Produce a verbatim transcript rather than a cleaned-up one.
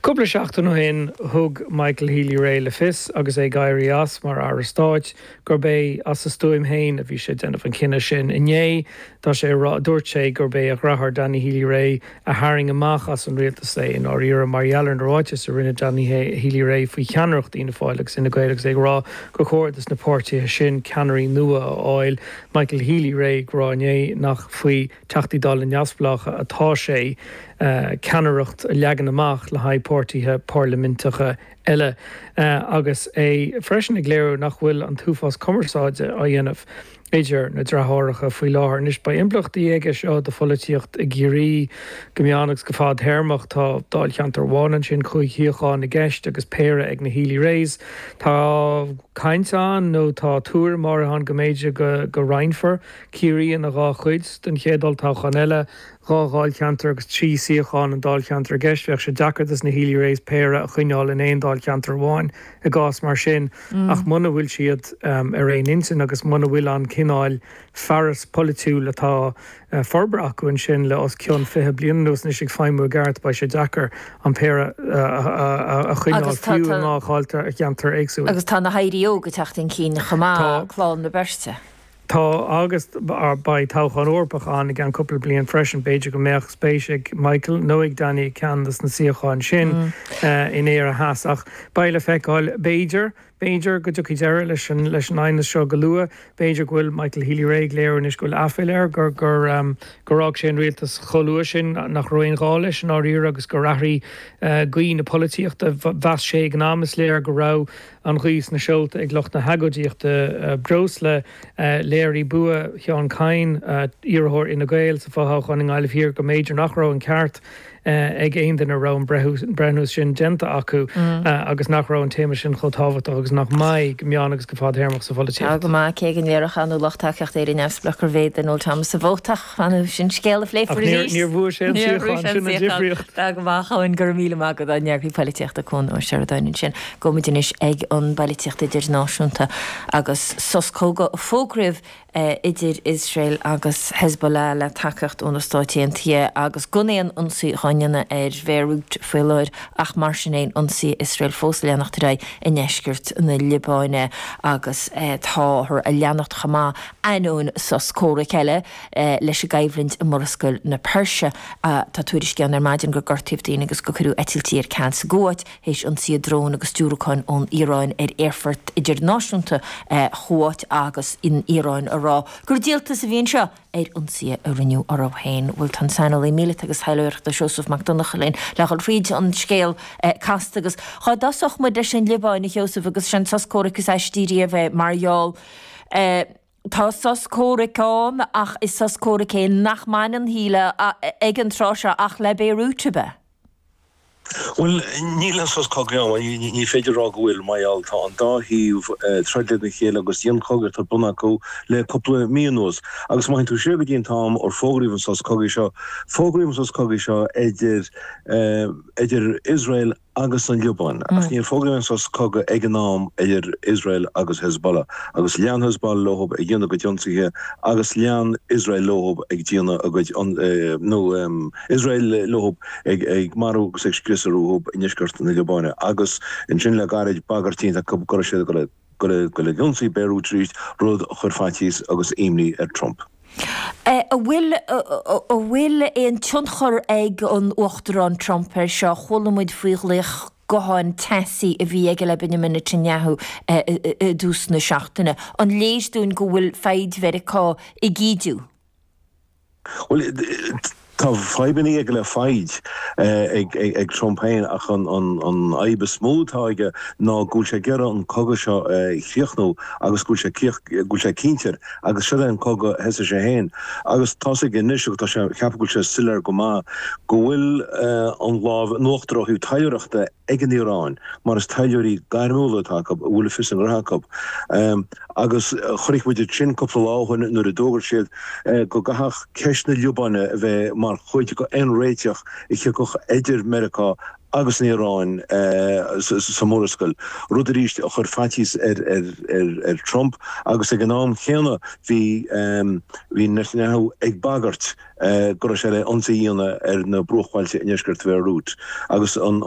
Cúpla seachtain ó shin thug Michael Healy-Rae le fios agus é ag éirí as mar Aire Stáit gurb é as a stuaim féin a bhí sé ag déanamh an cinneadh sin. Inné tá sé dúirt sé gurb é a dheartháir Danny Healy-Rae a tharraing amach as an rialtas é i ndáiríre mar gheall ar na ráitis a rinne Danny Healy-Rae faoi cheannaireacht Fhianna Fáil agus Fhine Gael agus é ag rá gur chóir dos na páirtithe sin ceannairí nua a fháil Michael Healy-Rae ag rá inné nach faoi Teachtaí Dála neamhspleácha atá sé uh, ceannaireacht a leagan amach le haghaidh páirtithe parlaiminteacha eile uh, agus é freisin ag léiriú nach bhfuil an t-uafás cumarsáide á dhéanamh idir na deartháireacha faoi láthair. Anois beidh impleachtaí aige seo do pholaitíocht i gCiarraí go meán agus go fadtéarmach tá dáilcheantar amháin ansin cúig shuíochán i gceist agus péire ag na Healy-Raes. Tá caint ann nó tá tuairim ann go mb'fhéidir go, go roinnfear Ciarraí ina dhá chuid den chéad olltoghchán eile dhá dháilcheantar agus trí shuíochán an dáilcheantar i gceist bheadh sé deacair dos na Healy-Raes péire a choinneáil in aon dáilcheantar amháin i gcás mar sin mm. ach muna bhfuil siad um, ar aon intinn agus muna bhfuil an cineál fearas polaitiúil atá uh, forbartha acu ansin le os cionn fiche bliain anuas anois ag feidhmiú i gceart beidh sé deacair an péire uh, a choinneáil fiú i dhá dháilcheantar éagsúil. Agus tá na hairí óga ag teacht chun cinn chomh maith clann na beirte. Tá agus beidh toghchán Eorpach ann i gceann cúpla bliain freisin b'fhéidir go mbeadh spéis ag Michael nó ag Danny ceann des na suíocháin sin mm. uh, in Éire Theas ach beidh le feiceáil b'fhéidir b'fhéidir go dtiocfaidh deireadh leis an leis an aighneas seo go luath b'fhéidir go bhfuil Michael Healy-Rae ag léiriú anois go bhfuil aiféala air gur gur um, gur fhág sé an rialtas chomh luath sin nach raibh aon ghá leis an áiríre agus gur athraigh uh, gaoth na polaitíochta mheas sé ag an am is léir go raibh an ghaoth sna seolta ag lucht na hagóidíochta uh, breosla uh, léirigh bua Sheán Kyne uh, iarrthóir Fhine Gael sa fhothoghchán i nGaillimh Thiar go mb'fhéidir nach raibh an ceart uh, ag aon duine raibh an breithniú sin déanta acu mm. uh, agus nach raibh an téama sin chomh tábhachtach agus nach mbeidh go meán agus go fadtéarmach sa pholaitíocht. Go maith cé go ndéarfadh an lucht tacaíochta Éire Neamhspleách gurbh é Noel Thomas a vóta ach sin scéal a phléifear Níor bhuaigh sé sin an difríocht. Tá go maith an gur míle maith agat an eagarthóir polaitíochta Cuan Ó Seireadáin sin gabhfaidh muid anois ag an bpolaitíocht idirnáisiúnta agus sos cogaidh fógraithe idir Iosrael agus Hezbollah le tacaíocht ó na Stáit Aontaithe agus gan aon ionsaí á dhéanamh ar Bhéiriút faoi láthair ach mar sin féin ionsaí Iosrael fós leanacht ar aghaidh i ndeisceart na Liobáine agus táthar ag leanacht chomh maith ainneoin sos comhraic eile leis an gcoimhlint i Murascaill na Peirse tá tuairiscí ann ar maidin gur gortaíodh daoine agus gur cuireadh eitiltí ar ceal sa gCuáit théis ionsaí drón agus diúracáin ón Iaráin ar aerfort idirnáisiúnta Chúáit agus an Iaráin a rá gur díoltas a bhí anseo ar ionsaí a rinneadh orthu féin bhfuil tá saineolaí míleata agus taidhleoireachta Seosamh Mac Donncha linn le dhul fríd an scéal casta agus dá dtosódh muid leis an Liobáin a Sheosaimh agus sin sos comhraic is aistí a bheith mar gheall Tá sos comhraic ann ach is sos comhraic é nach mbaineann shíle ag an tráth seo ach le Béiriút ab ea. Well níl an sos cogaidh ann ní féidir rá go bhfuil mar gheall tá an dá thaobh troid lena chéile agus dianchogadh ar bun acu le cúpla mí anuas. Agus má tú siar go dtí an t-am ar fógraíodh an sos cogaidh seo, fógraíodh an sos cogaidh seo idir idir Israel agus an Liobáin. Ach níor fógraíodh an sos cogaidh ag an am idir Israel agus Hezbollah. Agus lean Hezbollah leo ag déanamh a gcuid ionsaithe agus lean Israel leo ag déanamh a gcuid nó Israel leo ag ag marú agus ag scriosadh i ndeisceart na Liobáine. Agus ansin le gairid bagairt déanta acu go raibh siad ag dul ag ionsaí Beirut arís, rud a chuir faitíos agus imní ar Trump. An bhfuil an bhfuil aon tionchar ag an Uachtarán Trump ar seo chuala muid faoi ghlaoch gutháin teasaí a bhí aige le Benjamin Netanyahu i dtús na seachtaine. An léir dúinn go bhfuil foighid Mheiriceá ag ídiú? Well tá fadhbanna aige le foighid ag ag Trump féin ach an an an fhadhb is mó atá aige ná go bhfuil sé ag iarraidh an cogadh seo a chríochnú agus go bhfuil sé go bhfuil sé cinnte agus seo é an cogadh a thosaigh sé féin agus tá sé anois agus tá sé ceapadh go bhfuil sé soiléir go maith go bhfuil an lámh in uachtar ó thaobh taidhleoireachta ag an Iaráin mar is taidhleoirí gairmiúla atá acu a bhfuil a fios a ngnó acu agus chonaic muid sin cúpla lá ó shin nuair a d'fhógair siad go gcaithfeadh ceist na Liobáine a bheith mar chuid d'aon réiteach a thiocfadh idir Meiriceá agus an Iaráin sa Mhurascaill, rud arís a chuir faitíos ar Trump agus ag an am chéanna bhí bhí Netanyahu ag bagairt go raibh sé le ionsaí a dhéanamh ar na bruachbhailte i ndeisceart Bhéiriút agus an